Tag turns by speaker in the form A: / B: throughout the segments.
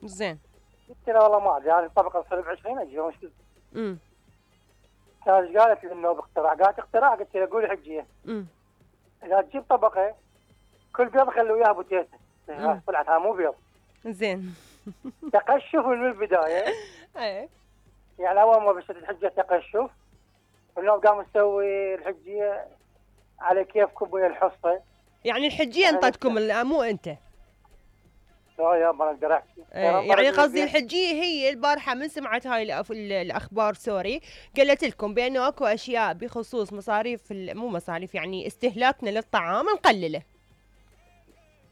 A: زين.
B: قلت لها والله ما ادري، هذه الطبقه تصير ب20 اجي وش قلت؟ كانت قالت لي انه باقتراح، قالت اقتراح، قلت لها قولي حجيه. اذا تجيب طبقه كل بيض خلي وياها بوتيته، طلعت ها مو بيض.
A: زين.
B: تقشف من البدايه.
A: ايه
B: يعني اول ما بشت الحجه تقشف، واليوم قام نسوي الحجيه على كيفكم ويا الحصه.
A: يعني الحجيه انطتكم مو انت؟
B: لا يا ما اقدر احكي.
A: يعني قصدي الحجيه هي البارحه من سمعت هاي الاخبار سوري، قالت لكم بانه اكو اشياء بخصوص مصاريف مو مصاريف يعني استهلاكنا للطعام نقلله.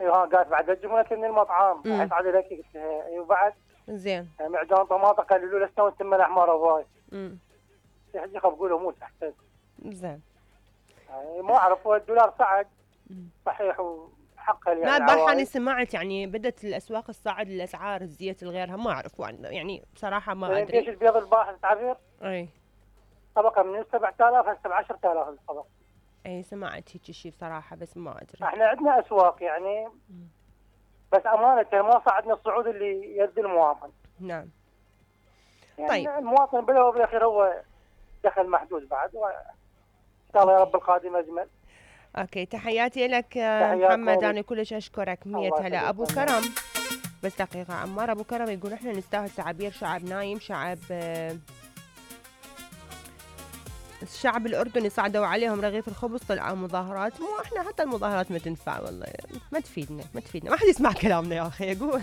B: ايوه قالت بعد تجيبون من المطعم حيصعد لك. قلت لها ايوه بعد.
A: زين.
B: معجون طماطم قللوا له استوى السمن الاحمر هواي. الحجيه خاف اقول موت احسن.
A: زين.
B: يعني ما اعرف، هو الدولار صعد صحيح وحقها يعني.
A: لا البارحه انا سمعت يعني بدت الاسواق تصعد الاسعار، الزيت الغيرها ما اعرف يعني بصراحه ما ادري.
B: ليش البيض البارحه تعبير؟
A: اي
B: طبقه من 7000 هسه ب 10000 الطبق.
A: اي سمعت هيك شيء بصراحه بس ما ادري.
B: احنا عندنا اسواق يعني بس امانه ما صعدنا الصعود اللي يد المواطن.
A: نعم.
B: يعني
A: طيب
B: المواطن بالاول وبالاخير هو دخل محدود بعد، وان شاء الله يا رب القادم اجمل.
A: اوكي تحياتي لك محمد، انا كلش اشكرك. 100 هلا. ابو كرم بس دقيقه عمار. ابو كرم يقول احنا نستاهل تعابير شعب نايم، الشعب الأردني صعدوا عليهم رغيف الخبز طلعوا مظاهرات. مو احنا حتى المظاهرات ما تنفع والله، ما تفيدنا ما حد يسمع كلامنا يا أخي. أقول